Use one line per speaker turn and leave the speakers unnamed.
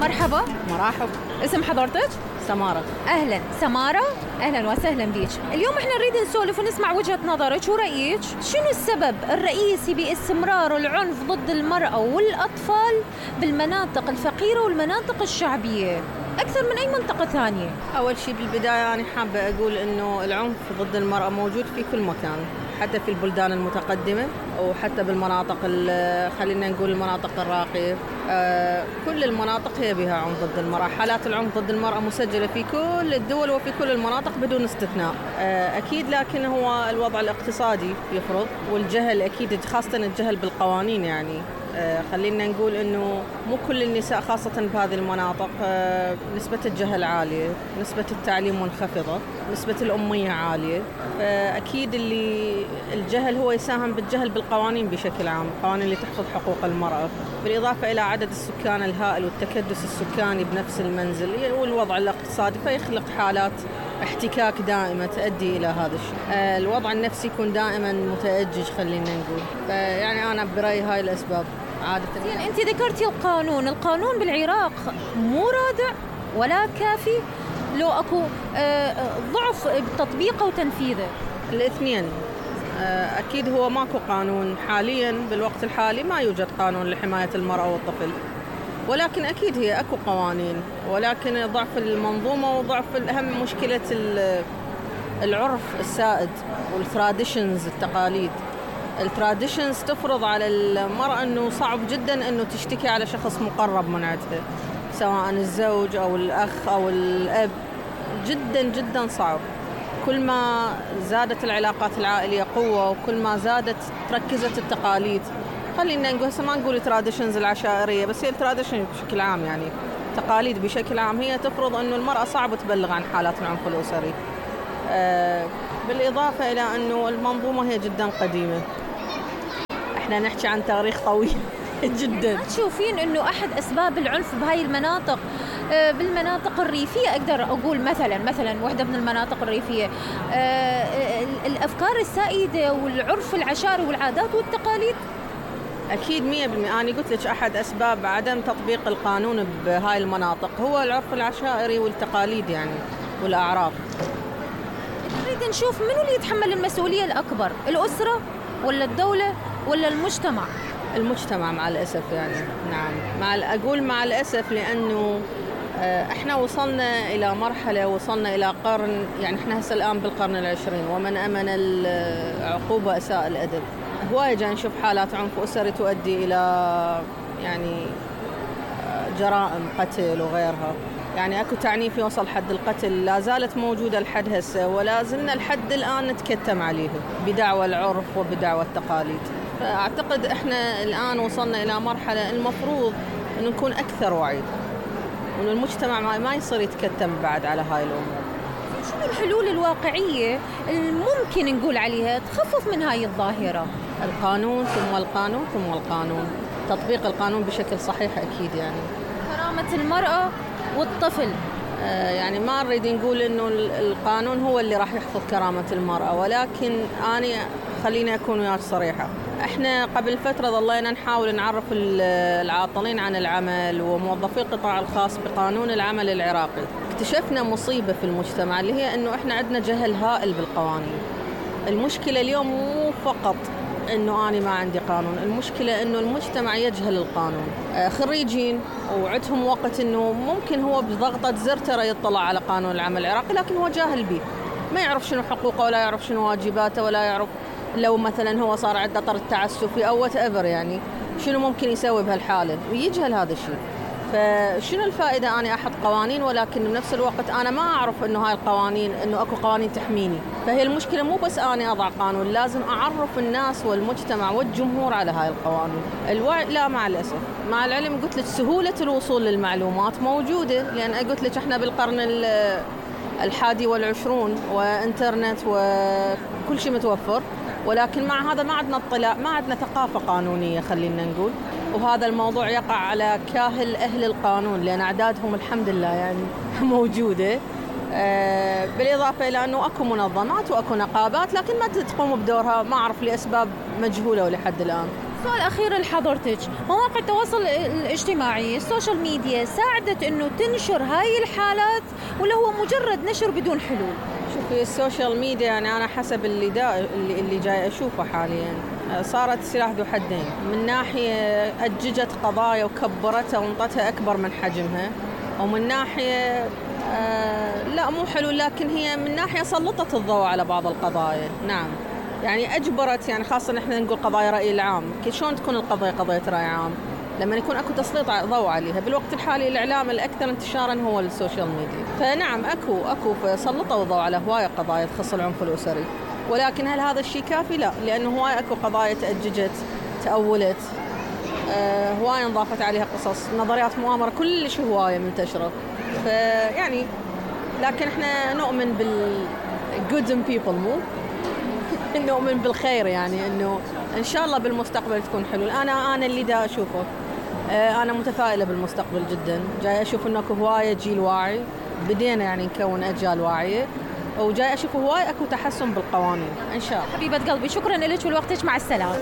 مرحبا.
مرحب.
اسم حضرتك؟
سمارة.
أهلا سمارة، أهلا وسهلا بيك. اليوم احنا نريد نسولف ونسمع وجهة نظرك ورأيك. شنو السبب الرئيسي باستمرار العنف ضد المرأة والأطفال بالمناطق الفقيرة والمناطق الشعبية أكثر من أي منطقة ثانية؟
أول شيء بالبداية أنا حابة أقول إنه العنف ضد المرأة موجود في كل مكان، حتى في البلدان المتقدمة وحتى بالمناطق خلينا نقول المناطق الراقية. كل المناطق هي بها عنف ضد المرأة. حالات العنف ضد المرأة مسجلة في كل الدول وفي كل المناطق بدون استثناء. أكيد، لكن هو الوضع الاقتصادي يفرض، والجهل أكيد، خاصة الجهل بالقوانين. يعني خلينا نقول إنه مو كل النساء خاصة بهذه المناطق نسبة الجهل عالية، نسبة التعليم منخفضة، نسبة الأمية عالية. فأكيد الجهل هو يساهم بالجهل بالقوانين بشكل عام، القوانين اللي تحفظ حقوق المرأة، بالإضافة إلى عدد السكان الهائل والتكدس السكاني بنفس المنزل والوضع الاقتصادي، فيخلق حالات احتكاك دائمة تؤدي إلى هذا الشيء. الوضع النفسي يكون دائما متأجج خلينا نقول. يعني أنا برأيي هاي الأسباب عادة.
يعني أنت ذكرتي القانون بالعراق مو رادع ولا كافي، لو أكو ضعف بتطبيقه وتنفيذه؟
الاثنين. أكيد هو ماكو قانون حاليا، بالوقت الحالي ما يوجد قانون لحماية المرأة والطفل، ولكن أكيد هي أكو قوانين، ولكن ضعف المنظومة وضعف الأهم مشكلة العرف السائد والتراديشنز، التقاليد. التراديشنز تفرض على المرأة أنه صعب جدا أنه تشتكي على شخص مقرب من عندها، سواء الزوج أو الأخ أو الأب. جدا جدا صعب. كل ما زادت العلاقات العائلية قوة وكل ما زادت تركزت التقاليد. خلينا نقول هسه ما نقول تراديشنز العشائرية، بس هي التراديشن بشكل عام، يعني تقاليد بشكل عام هي تفرض أنه المرأة صعب تبلغ عن حالات العنف الأسري. بالإضافة إلى أنه المنظومة هي جدا قديمة. احنا نحكي عن تاريخ طويل جدا.
ما تشوفين انه احد اسباب العنف بهاي المناطق بالمناطق الريفيه؟ اقدر اقول مثلا واحده من المناطق الريفيه الافكار السائده والعرف العشائري والعادات والتقاليد.
اكيد 100%. انا قلت لك احد اسباب عدم تطبيق القانون بهاي المناطق هو العرف العشائري والتقاليد يعني والاعراف.
نريد نشوف منو اللي يتحمل المسؤوليه الاكبر، الاسره ولا الدوله ولا المجتمع؟
المجتمع مع الأسف. يعني نعم، أقول مع الأسف، لأنه احنا وصلنا إلى مرحلة، وصلنا إلى قرن، يعني احنا هسه الآن بالقرن العشرين، ومن أمن العقوبة أساء الأدب. هواية جاي نشوف حالات عنف أسري تؤدي إلى يعني جرائم قتل وغيرها. يعني أكو تعنيف يوصل حد القتل، لا زالت موجودة لحد هسه، ولا زلنا لحد الآن نتكتم عليه بدعوى العرف وبدعوى التقاليد. فأعتقد إحنا الآن وصلنا إلى مرحلة المفروض أن نكون أكثر وعي، وأن المجتمع ما يصير يتكتم بعد على هاي الأمور.
شنو الحلول الواقعية الممكن نقول عليها تخفف من هاي الظاهرة؟
القانون ثم القانون ثم القانون، تطبيق القانون بشكل صحيح أكيد. يعني
كرامة المرأة والطفل.
يعني ما نريد نقول إنه القانون هو اللي راح يحفظ كرامة المرأة، ولكن أنا خليني أكون وياك صريحة. إحنا قبل فترة ظلينا نحاول نعرف العاطلين عن العمل وموظفي القطاع الخاص بقانون العمل العراقي. اكتشفنا مصيبة في المجتمع اللي هي إنه إحنا عندنا جهل هائل بالقوانين. المشكلة اليوم مو فقط إنه أنا ما عندي قانون، المشكلة إنه المجتمع يجهل القانون. خريجين وعندهم وقت إنه ممكن هو بضغطة زر ترى يطلع على قانون العمل العراقي، لكن هو جاهل به، ما يعرف شنو حقوقه ولا يعرف شنو واجباته ولا يعرف لو مثلا هو صار عنده طرد تعسفي أو whatever، يعني شنو ممكن يسوي بهالحالة، ويجهل هذا الشيء. فشنو الفائدة أنا أحط قوانين ولكن بنفس الوقت أنا ما أعرف إنه هاي القوانين، إنه أكو قوانين تحميني. فهي المشكلة مو بس أنا أضع قانون، لازم أعرف الناس والمجتمع والجمهور على هاي القوانين. الوعي لا، مع الأسف، مع العلم قلت لك سهولة الوصول للمعلومات موجودة، لأن قلت لك إحنا بالقرن 21 وإنترنت وكل شيء متوفر، ولكن مع هذا ما عندنا اطلاع، ما عندنا ثقافة قانونية خلينا نقول. وهذا الموضوع يقع على كاهل أهل القانون، لأن أعدادهم الحمد لله يعني موجودة. بالإضافة إلى أنه أكو منظمات وأكو نقابات لكن ما تقوم بدورها، ما أعرف لأسباب مجهولة ولحد الآن.
سؤال أخير لحضرتك، مواقع التواصل الاجتماعي السوشيال ميديا ساعدت إنه تنشر هاي الحالات ولا هو مجرد نشر بدون حلول؟
شوفي السوشيال ميديا يعني أنا حسب اللي جاي أشوفه حاليا صارت سلاح ذو حدين. من ناحية أججت قضايا وكبرتها وانطتها أكبر من حجمها، ومن ناحية لا مو حلو، لكن هي من ناحية سلطت الضوء على بعض القضايا. نعم يعني أجبرت، يعني خاصة إحنا نقول قضايا رأي العام، شلون تكون القضية قضية رأي عام؟ لما يكون أكو تسليط ضوء عليها. بالوقت الحالي الإعلام الأكثر انتشارا هو السوشيال ميديا، فنعم أكو سلطوا الضوء على هواية قضايا تخص العنف الأسري، ولكن هل هذا الشيء كافي؟ لا، لأنه هواية أكو قضايا تأججت تأولت، هواية انضافت عليها قصص، نظريات مؤامرة، كل شيء هواية منتشرة. فيعني لكن احنا نؤمن good in people، مو نؤمن بالخير، يعني انه ان شاء الله بالمستقبل تكون حلو. انا اللي دا اشوفه، انا متفائلة بالمستقبل جدا. جاي اشوف انه اكو هواية جيل واعي، بدينا يعني نكون اجيال واعية، وجاي اشوف هواية اكو تحسن بالقوانين ان شاء الله.
حبيبة قلبي شكرا لك ولوقتك، مع السلامة.